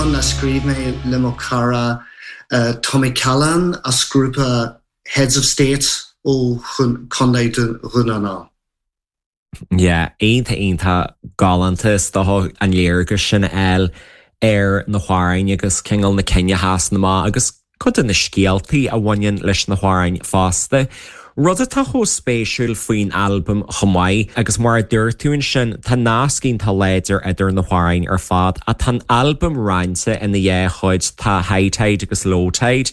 amhrán a scríobh mé le mo chara Tommy Callahan as grúpa Heads of State ó Chontae Dhún na nGall. Yeah, iontach iontach galánta is dócha an léargas sin a fháil ar na hamhráin agus cineál na cinn a sheasann amach agus cuid de na scéaltaí a bhaineann leis na hamhráin fosta. Rud atá chomh spéisiúil faoin albam chomh maith, agus mar a dúirt tú ansin, tá nasc iontach láidir idir na hamhráin ar fad, ach tá an albam roinnte ina dhá chuid, tá High Tide agus Low Tide.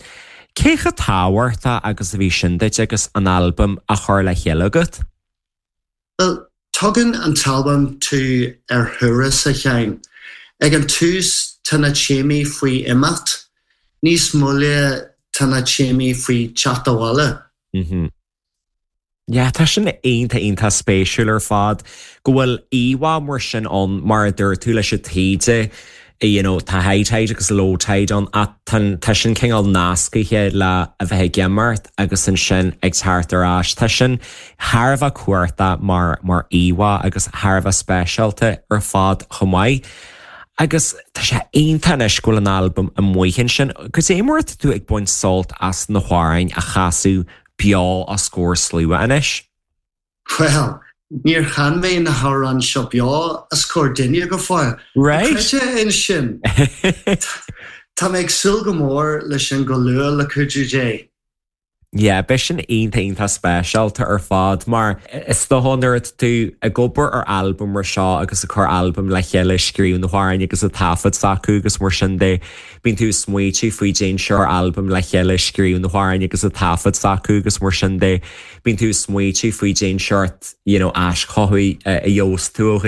Cé chomh tábhachtach agus a bhí sin duit agus an albam á chur le chéile agat? Bhuel, tugann an t-albam tú ar thuras, a Sheáin. Ag an tús tá na téamaí faoi imeacht, níos moille tá na téamaí faoi teacht abhaile. Mm-hmm. Yeah, tá sin iontach iontach spéisiúil ar fad go bhfuil íomhá mar sin ann mar a dúirt tú leis an taoide you know, tá high tide agus low tide ann ach tá sin cineál nascaithe le a bheith ag imeacht agus ansin ag teacht ar ais. Tá sin thar a bheith cumhachtach mar mar íomhá agus thar a bheith speisialta ar fad chomh maith. Agus tá sé iontach anois go bhfuil an albam amuigh ansin. Cad é mar atá tú ag baint sult as na hamhráin a chasadh beo os comhair slua anois? Bhuel, níor chan mé na hamhráin seo beo os comhair duine go fóill. Right. Creid é sin. Tá mé ag súil go mór leis sin go luath le cuidiú Dé. Yeah, beidh sin iontach iontach speisialta ar fad mar is dócha nuair atá tú ag obair ar albam mar seo agus ag cur albam le chéile, scríobh na hamhráin agus ag taifead s'acu agus mar sin de, bíonn tú ag smaoitiú faoi cén sórt albam le chéile, scríobh na hamhráin agus ag taifead s'acu agus mar sin de. Bíonn tú ag smaoitiú faoi cén sórt you know aischothú a gheobhas tú ó.